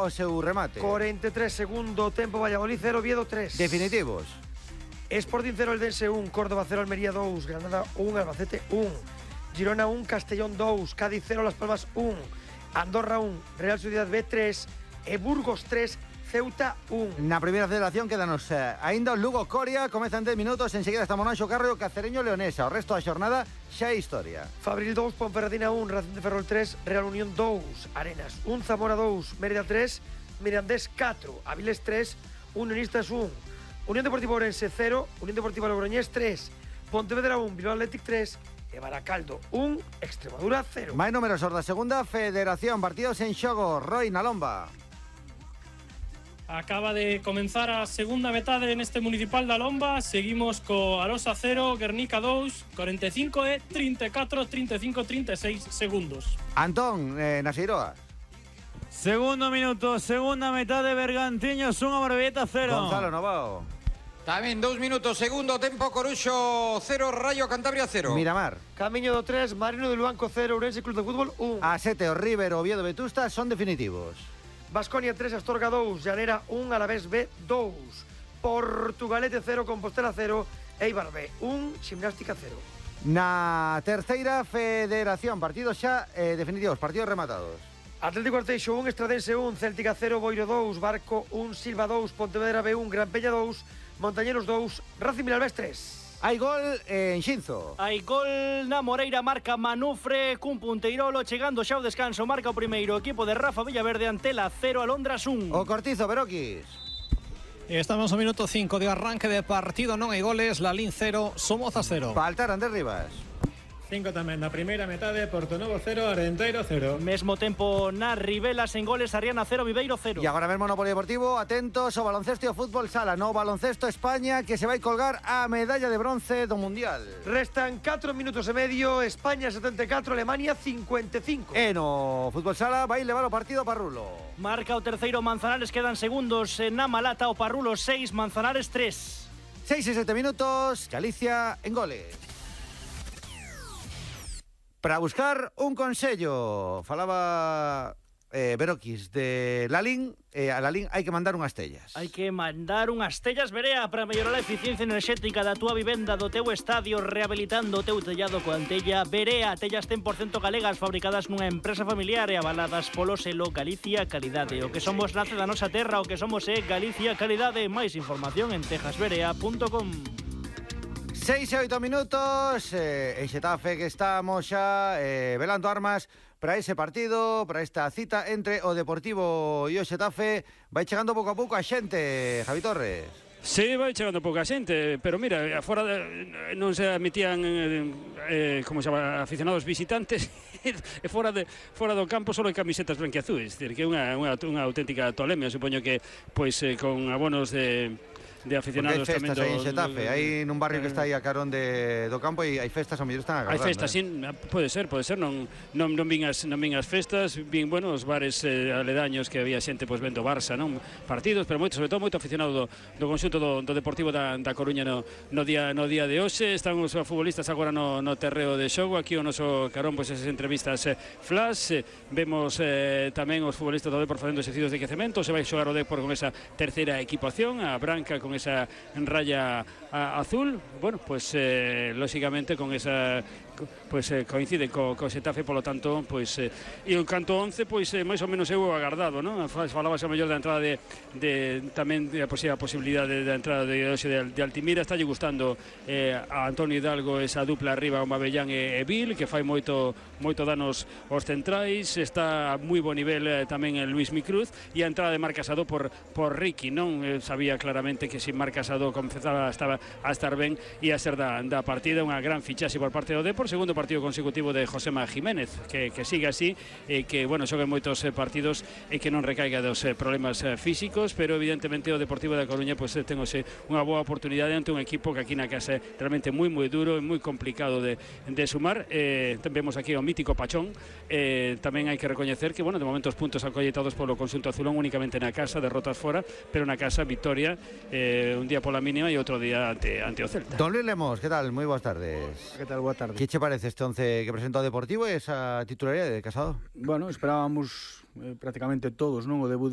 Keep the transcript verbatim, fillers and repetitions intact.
o seu remate. cuarenta y tres, segundo tempo, Valladolid cero, Oviedo tres. Definitivos. Sporting cero, Eldense uno, Córdoba cero, Almería dos, Granada uno, Albacete uno, Girona uno, Castellón dos, Cádiz cero, Las Palmas uno, Andorra uno, Real Sociedad B tres, e Burgos tres, Ceuta uno. Na primeira federación quédanos eh, aínda o Lugo Coria, comezan dez minutos, enseguida está Monaxo Carro, Cacereño Leonesa. O resto da xornada xa é historia. Fabril dos, Ponferradina uno, Racing de Ferrol tres, Real Unión dos, Arenas uno, Zamora dos, Mérida tres, Mirandés cuatro, Avilés tres, Unionistas uno, Unión Deportiva Ourense cero, Unión Deportiva Logroñés tres, Pontevedra uno, Bilbao Athletic tres, e Baracaldo uno, Extremadura cero. Máis números da segunda federación, partidos en xogo. Roy na Lomba. Acaba de comenzar a segunda metade neste Municipal da Lomba. Seguimos co Arosa cero, Guernica dos, cuarenta y cinco e treinta y cuatro, treinta y cinco, treinta y seis segundos. Antón, eh, na Seiroa. Segundo minuto, segunda metade, Bergantiños uno, Morevieta cero. Gonzalo Novao. Tamén dous minutos, segundo tempo, Coruxo cero, Rayo Cantabria cero. Miramar. Camiño do tres, Marino de Luanco cero, Ourense Club de Fútbol uno. A sete, o River, o Oviedo, Vetusta son definitivos. Baskonia tres, Astorga dos, Llanera uno, Alavés B dos, Portugalete cero, Compostela cero, Eibar B uno, Gimnástica cero. Na terceira federación, partidos xa eh, definitivos, partidos rematados. Atlético Arteixo uno, Estradense uno, Céltica cero, Boiro dos, Barco uno, Silva dos, Pontevedra B uno, Gran Peña dos, Montañeros dos, Racing Vilalbés tres. Hai gol en Xinzo. Hai gol na Moreira, marca Manufre cun punteirolo, chegando xa ao descanso, marca o primeiro equipo de Rafa Villaverde, Antela cero, Alondras uno. O Cortizo, Beroquis. Estamos no minuto cinco de arranque de partido, non hai goles, Lalín cero, Somozas cero. Paltar, Andrés Rivas. cinco tamén na primeira metade, Portonovo cero, Arenteiro cero. Mesmo tempo na Rivela, sen goles, Arriana cero, Viveiro cero. E agora mesmo no Polideportivo, atentos ao baloncesto e ao fútbol sala. No baloncesto España, que se vai colgar a medalla de bronce do Mundial. Restan catro minutos e medio, España setenta y cuatro, Alemania cincuenta y cinco. E no fútbol sala vai levar o partido Parrulo. Marca o terceiro Manzanares, quedan segundos na Malata, o Parrulo seis, Manzanares tres. seis e sete minutos, Galicia en goles. Para buscar un consello, falaba eh, Beroquis de Lalín, eh, a Lalín hai que mandar unhas tellas. Hai que mandar unhas tellas, Berea, para mellorar a eficiencia enerxética da túa vivenda, do teu estadio, rehabilitando o teu tellado coa tella Berea. Tellas cen por cento galegas, fabricadas nunha empresa familiar e avaladas polo selo Galicia Calidade. O que somos nace da nosa terra, o que somos é Galicia Calidade. Máis información en tejasberea punto com. seis e oito minutos, eh, en Xetafe que estamos xa eh, velando armas para ese partido, para esta cita entre o Deportivo e o Xetafe. Vai chegando pouco a pouco a xente, Javi Torres. Sí, vai chegando pouca xente, pero mira, afora de, non se admitían eh, como se chama, aficionados visitantes, e fora de fora do campo só hai camisetas branquiazuis, decir, que é unha, unha, unha auténtica tolemia, supoño que pois eh, con abonos de de aficionados tamén do... Hai festas aí en Xetafe, hai nun barrio que está aí a carón de, do campo e hai festas, ao mellor están agardando. Hai festas, eh? sí, pode ser, pode ser, non non non vin as non vin as festas, vin, bueno, os bares eh, aledaños que había xente pois vendo Barça, non? Partidos, pero moito, sobre todo moito aficionado do, do conxunto do, do Deportivo da, da Coruña no, no día no día de hoxe. Están os futbolistas agora no, no terreo de xogo, aquí o noso carón pois esas entrevistas eh, flash, eh, vemos eh, tamén os futbolistas do Depor facendo exercicios de quecemento, se vai xogar o Depor con esa terceira equipación, a branca con esa raya a, azul, bueno, pues eh, lógicamente con esa pues eh, coincide co, co Xetafe, polo tanto, pois eh, e o canto once, pois eh, máis ou menos eu agardado, non? Falabas a mellor da entrada de, de tamén de a posible posibilidade da entrada de hoxe de, de Altimira. Está lle gustando eh, a Antonio Hidalgo esa dupla arriba, o Mabellán e, e Vil, que fai moito moito danos aos centrais. Está a moi bo nivel eh, tamén el Luis Micruz, e a entrada de Marc Casado por por Ricky, non? Eh, sabía claramente que se Marc Casado comezaba estaba a estar ben e a ser da, da partida. Unha gran fichaxe por parte do Depor, segundo partido consecutivo de Josema Jiménez, que, que sigue así, e que, bueno, xogue moitos eh, partidos e que non recaiga dos eh, problemas eh, físicos, pero evidentemente o Deportivo da Coruña pois pues, ten unha boa oportunidade ante un equipo que aquí na casa é realmente moi moi duro e moi complicado de, de sumar. Eh, vemos aquí o mítico Pachón, eh, tamén hai que recoñecer que, bueno, de momento os puntos acolletados polo conxunto azulón únicamente na casa, derrotas fora, pero na casa victoria, eh, un día pola mínima e outro día ante, ante o Celta. Don Luis Lemos, que tal? Moi boas tardes. Que tal? Boa tarde. Que che parece este once que presenta o Deportivo e esa titularidade de Casado? Bueno, esperábamos eh, prácticamente todos, non, o debut